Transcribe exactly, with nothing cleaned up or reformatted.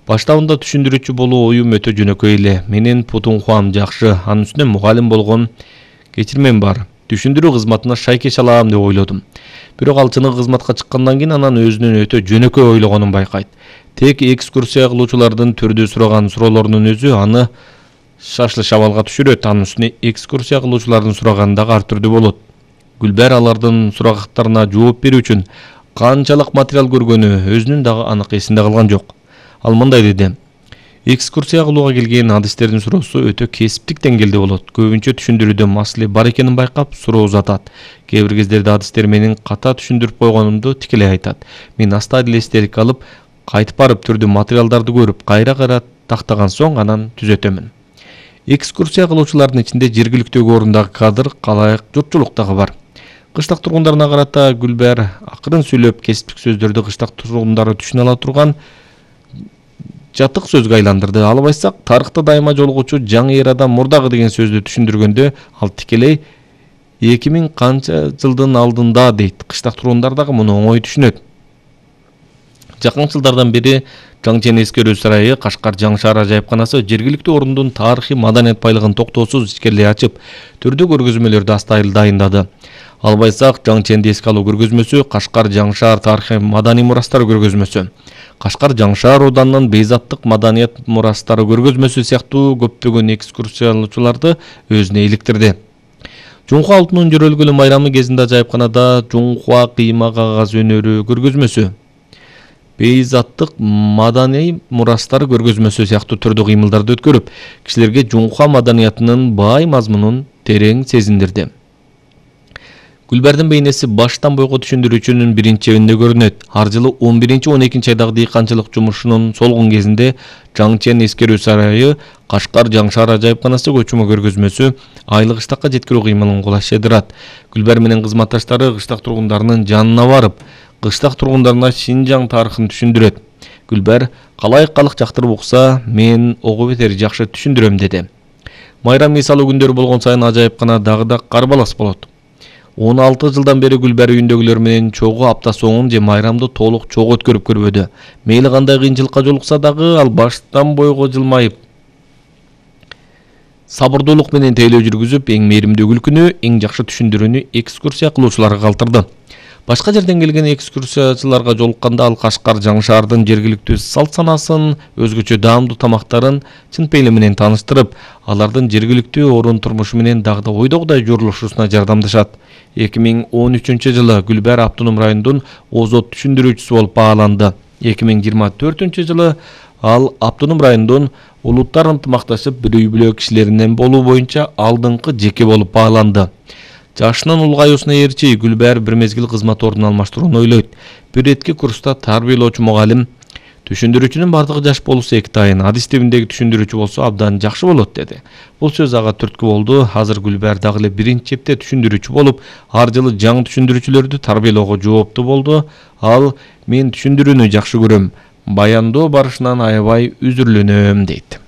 Баштабында түшүндүрүүчү болуу оюм өтө жөнөкөй эле. Менин Путунхуам жакшы, анын үстүнө мугалим болгон кечирмем бар. Түшүндүрүү кызматына шайкеш алам деп ойлодум. Бирок ал чыныгы кызматка чыккандан кийин анан өзүнүн өтө жөнөкөй ойлогонун байкайт. Тек экскурсия кылуучулардын түрдүү сураган суроолорунун өзү аны шашлы шабалга түшүрөт. Анын үстүнө экскурсия кылуучулардын сураганы дагы ар түрдүү болот. Гүлбер алардын сурактарына жооп берүү үчүн канчалык материал көргөнү өзүнүн дагы анык эсинде калган жок. Ал мындай деди: экскурсия кылууга келген адистердин суроосу өтө кесиптик деңгээлде болот. Көбүнчө түшүндүрүүдө маселе бар экенин байкап, суроо узатат. Кээ бир кездерде адистер менин ката түшүндүрүп койгонумду тикелей айтат. Мен аста эле эстелик алып, кайтып барып түрдүү материалдарды көрүп, кайра-кайра тактаган соң анан түзөтөмүн. Экскурсия кылуучулардын ичинде жергиликтүү орундагы кадр, калайык журтчулук дагы бар. Кыштак тургундарына карата Гүлбер акырын сүйлөп, кесиптик сөздөрдү кыштак тургундары түшүнө ала турган жатык сөзгө айландырды. Алып айтсак, тарыхта дайыма жолугучу жаңы эрадан мурдагы деген сөздү түшүндүргөндө ал тикелей эки миң канча жылдын алдында дейт. Кыштак тургундар дагы муну оңой түшүнөт. Жакын жылдардан бери Жаңчен эскерүү сарайы, Кашкар жаңы шаар ажайыпканасы жергиликтүү орундун тарыхый маданият байлыгын токтоосуз ичкерилей ачып, түрдүү көргөзмөлөрдү астайыл дайындады. Алып айтсак, Жаңченди эске алуу көргөзмөсү, Кашкар жаңы шаар тарыхый маданий мурастары көргөзмөсү, Кашкар жаңы шаар ауданынын бейзаттык маданият мурастары көргөзмөсү сыяктуу көптөгөн экскурсиялоочуларды өзүнө иликтирди. Жунхуа алтынын жөрөлгөлү майрамы кезинде ажайыпканада Жунхуа кыйма кагаз өнөрү көргөзмөсү, бейзаттык маданий мурастары көргөзмөсү сыяктуу түрдүү кыймылдарды өткөрүп, кишилерге Жунхуа маданиятынын бай мазмунун терең сезиндирди. Гүлбердин бейнеси баштан бойго түшүндүрүүчүнүн биринчи чебинде көрүнөт. Ар жылы он биринчи он экинчи айдагы дыйканчылык жумушунун солгун кезинде Жаңчен эскерүү сарайы, Кашкар жаңы шаар ажайыпканасы көчмө көргөзмөсү айлык кыштакка жеткирүү кыймылын кулаштырат. Гүлбер менен кызматташтары кыштак тургундарынын жанына барып, кыштак тургундарына Шинжаң тарыхын түшүндүрөт. Гүлбер калайык калык жактырып укса, мен ого бетер жакшы түшүндүрөм деди. Майрам мисалы күндөрү болгон сайын ажайыпкана дагы да карбалас болот. он алты жылдан бери Гүлбер үйүндөгүлөр менен чогуу апта соңун же майрамды толук чогуу өткөрүп көрбөдү. Мейли кандай кыйынчылыкка жолукса дагы ал баштан бойго жылмайып, сабырдуулук менен тейлөө жүргүзүп, эң мээримдүү күлкүнү, эң жакшы түшүндүрүүнү экскурсия кылуучуларга калтырды. Башка жерден келген экскурсиячыларга жолукканда ал Кашкар жаңы шаардын жергиликтүү салт санасын, өзгөчө даамдуу тамактарын чын пейили менен тааныштырып, алардын жергиликтүү орун турмушу менен дагы да ойдогудай журулушусуна жардамдашат. эки миң он үчүнчү жылы Гүлбер Автоном районунун озот түшүндүрүүчүсү болуп бааланды. эки миң жыйырма төртүнчү жылы ал Автоном районунун улуттар ынтымакташып бир үй бүлө кишилеринен болуу боюнча алдыңкы жеке болуп бааланды. Жашынын улгаюусуна ээрчи Гүлбер бир мезгил кызмат ордун алмаштырууну ойлойт. Бир этки курста тарбиялоочу мугалим: түшүндүрүүчүнүн бардыгы жаш болуусу эки тайын, адис тибиндеги түшүндүрүүчү болсо абдан жакшы болот деди. Бул сөз ага түрткү болду. Азыр Гүлбер дагы эле биринчи чепте түшүндүрүүчү болуп, ар жылы жаңы түшүндүрүүчүлөрдү тарбиялоого жооптуу болду. Ал: мен түшүндүрүүнү жакшы көрөм, баяндоо барышынан аябай үзүрлөнөм дейт.